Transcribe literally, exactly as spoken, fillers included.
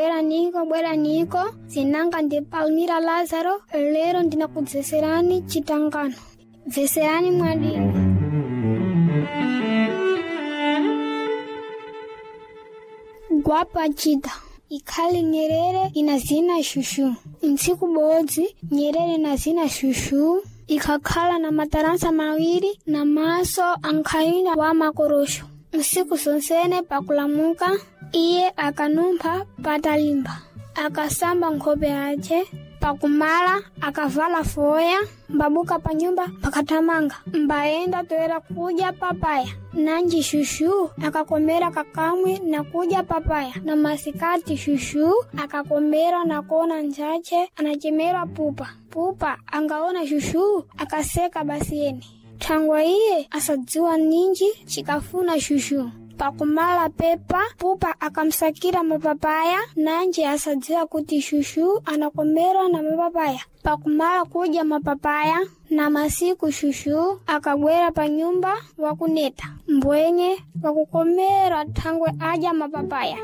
Bweraniko, bweraniko, zinanga ndi Palmira Lazaro, lero ndinakudzeserani chitangano. Bveserani mwadini. Gwapa chida ikhali nyerere ina zina shushu. Ntsiku bodzi nyerere na zina shushu ikhakhala na mataransa mawiri na maso ankhayina wa makorosho. Nsiku sonsene pakulamuka iye akanumpha patalimba, akasamba nkhope yace pakumala akavala foya mbabuka pa nyumba pakathamanga mbayenda toera kudya papaya. Nanji shushu akakomera kakamwe na kudya papaya. Na masikati shushu akakomera na kona njache anachemera pupa pupa angaona shushu akaseka basi yene. Thangwa iye asadziwa ninji chikafuna shushu. Pakumala pepa pupa akamsakira mapapaya, nanji asadziwa kuti shushu anakomera na mapapaya. Pakumala kudya mapapaya na masiku shushu akabwera pa nyumba wakuneta mbwenye wakukomera thangwe adya mapapaya.